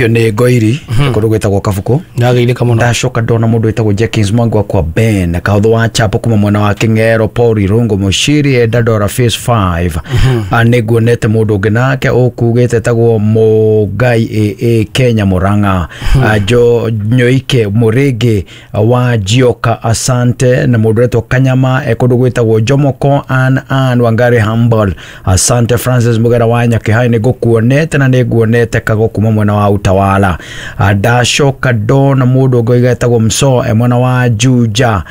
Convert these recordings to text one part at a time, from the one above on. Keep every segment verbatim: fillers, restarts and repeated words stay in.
Nĩ Ngoiri kũndũ gwĩtagwo Kabuku. Ndageithĩka mũno. Ndacoka ndona mũndũ wĩtagwo Jenkins Mwangi wa kwa Ben Kahũthũ wa Chapo kuma mwena wa Kĩng'ero, Paul Irungu Mũciri Endandora Phase five. Nĩ nguonete mũndũ ũngĩ nake ũkugĩte etagwo Mũngai A A Kenya Mũrang'a, Jo Nyoike Mũrĩngĩ wa Jioka, asante. Na mũndũ wetwo Kanyama e kũndũ gwĩtagwo Jomoko, Ann Ann Wangari Humble, asante. Francis Mugera wa Nyakĩhai, nĩ ngũkuonete na nĩ nguonete Kago kuma mwena wa Utawala. Ndacoka ndona mũndũ ũngĩ wĩtagwo Mso e mwena wa Juja,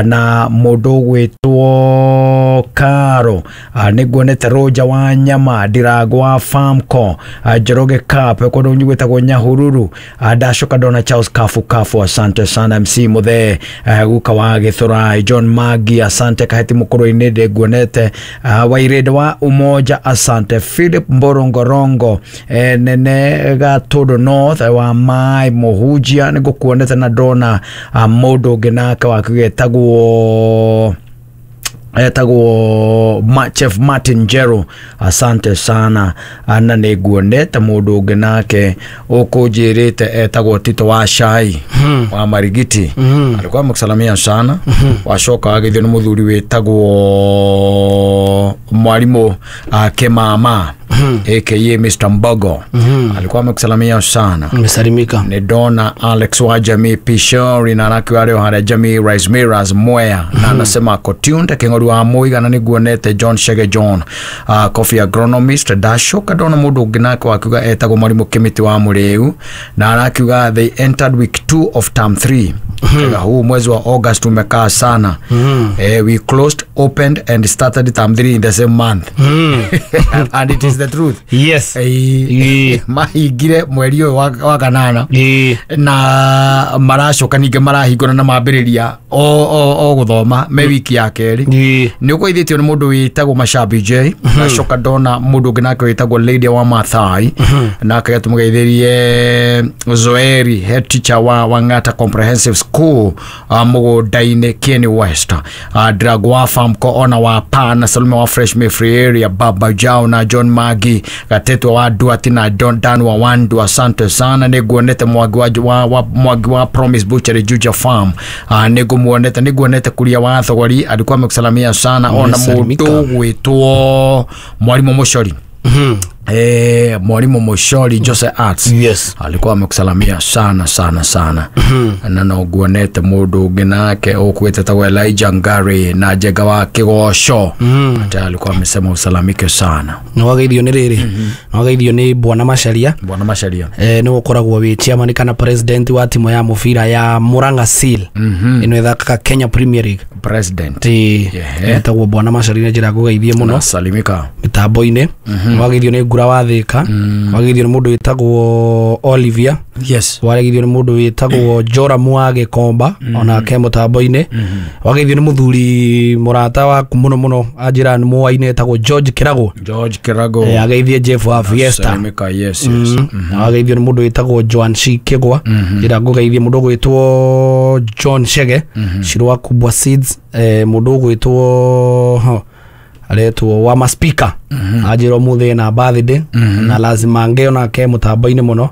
na mũndũ ũgwĩtwo Karo, nĩ nguonete Roja wa Nyama Ndirango wa Farmco, Njoroge Cup kũndũ gwĩtagwo Nyahururu. Ndacoka ndona Charles Kafu Kafu, asante sana. M C Muthee guka wa Gĩthũrai, John Magi, asante. Kaheti Mũkũrũ-inĩ ndĩ nguonete, Wairĩndĩ wa Umoja, asante. Philip Mborongorongo nene Gatũndũ North wa Mai Mũhunjia, nĩ ngũkuonete na ndona mũndũ ũngĩ nake waku etagwo etagwo Chef Martin Jero, asante sana. Na nĩ nguonete mũndũ ũngĩ nake ũkũnjĩrĩte etagwo Tito wa Shai wa Marigiti, alikuwa amekusalamia sana. Wacoka wagĩthio nĩ mũthuri wĩtagwo mwarimũ Kĩmama aka Mister Mbogo, alikuwa amekusalamia sana. Nimesalimika. Nĩ ndona Alex wa Jamii Pishori na anake arĩ o harĩa Jamii Rice Mirrors Mwea, na anasema ako tuned. Kĩng'ori wa Mũigana, nĩ nguonete John Shege John, uh, coffee agronomist. Ndacoka ndona mũndũ ũngĩ nake wakiuga etagwo mwarimũ Kĩmĩtĩ wa Mũrĩu, na arakiuga they entered week two of term three. Mm-hmm. Huu mwezi wa August umekaa sana. Mm. Eh, we closed, opened and started term three in the same month. Mm. And it is the truth. Yes. Eh, mahingire mweri ũyũ wa, wa kanana Eh. na maracoka ningĩ marahingũra na mambĩrĩria o, o, o gũthoma me wiki ya kerĩ. Eh. Nĩ ũkũithĩtio nĩ mũndũ wĩtagwo Mashabi J. Nacoka ndona mũndũ ũngĩ nake wĩtagwo Lady wa Mathai, nake tũmũgeithĩrie Zoeri, head teacher wa Wangata Comprehensive School uh, mũgũnda-inĩ Kieni West, uh, Dragwa Farmco ona wa Pa na Salome wa Fresh Mayfree area, Baba Jao na John Magi Gatetwa wa Duati na Don Dan wa Wandu, asante sana. Nĩ nguonete Mwangi wa, wa, wa, Mwangi wa Promise Butchery Juja Farm, uh, nĩ ngũmuonete, nĩ nguonete Kuria wa Thogori, alikuwa amekusalamia sana. Ona Nimesalimika. mũndũ gwĩtwo Mwarimũ Mũcori, eh, Mwalimu Mushori Jose Arts Yes. alikuwa amekusalamia sana sana sana. Na no nguonete mũndũ ũngĩ nake ũkwĩte tagwo Elijah Ngari na Njenga wa Kĩgoco, ate alikuwa amesema usalamike sana. Nĩ wageithio nĩ rĩrĩ, nĩ wageithio nĩ Bwana Macharia. Bwana Macharia. Eh, nĩ ũkoragwo wĩ chairman kana president wa timu ya mũbira ya Murang'a Seal ĩno ĩthakaga Kenya Premier League. President. Ti Yeah. etagwo Bwana Macharia, nĩ njĩra ngũgeithie mũno. Nasalimika. Mĩtambo-inĩ nĩ wageithio nĩ Ngura wa Thĩka, wageithio nĩ mũndũ wĩtagwo Olivia, yes wageithio nĩ mũndũ wĩtagwo Joramu wa Gĩkomba onake mũtambo-inĩ, wageithio nĩ mũthuri mũrata waku mũno mũno, anjĩra nĩ mũwainĩ, etagwo George Kĩragũ. George Kirago. Eh, ageithie Jeff wa Fiesta. Salimika, yes yes Mm. Wageithio nĩ mũndũ wĩtagwo Joan C Kĩgwa, njĩra ngũgeithie mũndũ ũgwĩtwo John Shege Shiro wa Kubwa Seeds, eh, mũndũ ũgwĩtwo ho, aretwo wa maspika, anjĩra ũmũthĩ na birthday na lazima ngeo nake mũtambo-inĩ mũno,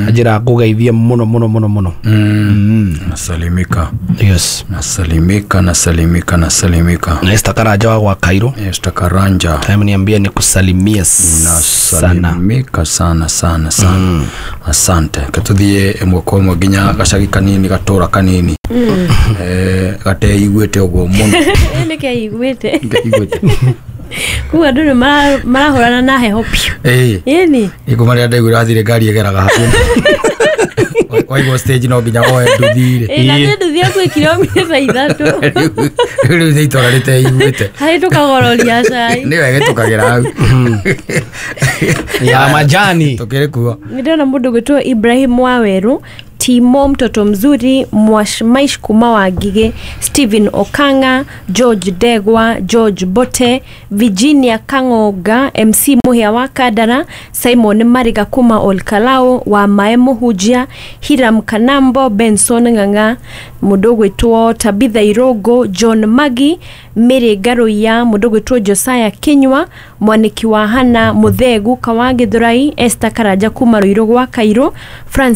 anjĩra ngũgeithie mũno mũno mũno mũno. Mm. Nasalimika. Yes. Nasalimika, nasalimika, nasalimika. Na Esther Karanja wa gwa Kairo. Esther Karanja. Time niambie nikusalimie sana. Nasalimika sana sana sana, asante. Katuthiĩ ĩmwe kwa ĩmwe nginya gacagi kanini, gatũra kanini eh gateiguĩte ũguo mũno. Nĩ keiguĩte. Ngeiguĩte. Koguo andũ nĩ mara- marahũrana na heho piũ. Ĩĩ. Ĩni. Ikuma rĩrĩa ndaiguire wathire ngari ĩgeraga hakuhĩ waigwo stage no nginya woe nduthi-rĩ. Ĩ, na nĩ nduthi yaku kilomita ithatũ. Rĩu nĩ itũra rĩteiguĩte. Harĩ tũkagororia cai. Nĩ wega tũkagĩra hau Ya majani. Tũkĩrĩ kuo. Nĩ ndĩrona mũndũ gwĩtwo Ibrahim Wawerũ. Timo mtoto mzuri, Mwashmaish kuma wa Ngigĩ, Stephen Okanga, George Ndegwa, George Bote, Virginia Kang'onga, M C Muhia wa Kandara, Simon Mariga kuma Olkalao wa Mae Mũhunjia, Hiram Kanambo, Benson Ng'ang'a, mũndũ ũgwĩtwo Tabitha Irongo, John Magi, Mary Ngaruiya, mũndũ ũgwĩtwo Josiah Kinyua, Mwaniki wa Hana Mũthegu Kawa Gĩthũrai, Esther Karanja kuma Ruiru gwa Kairũ, Francis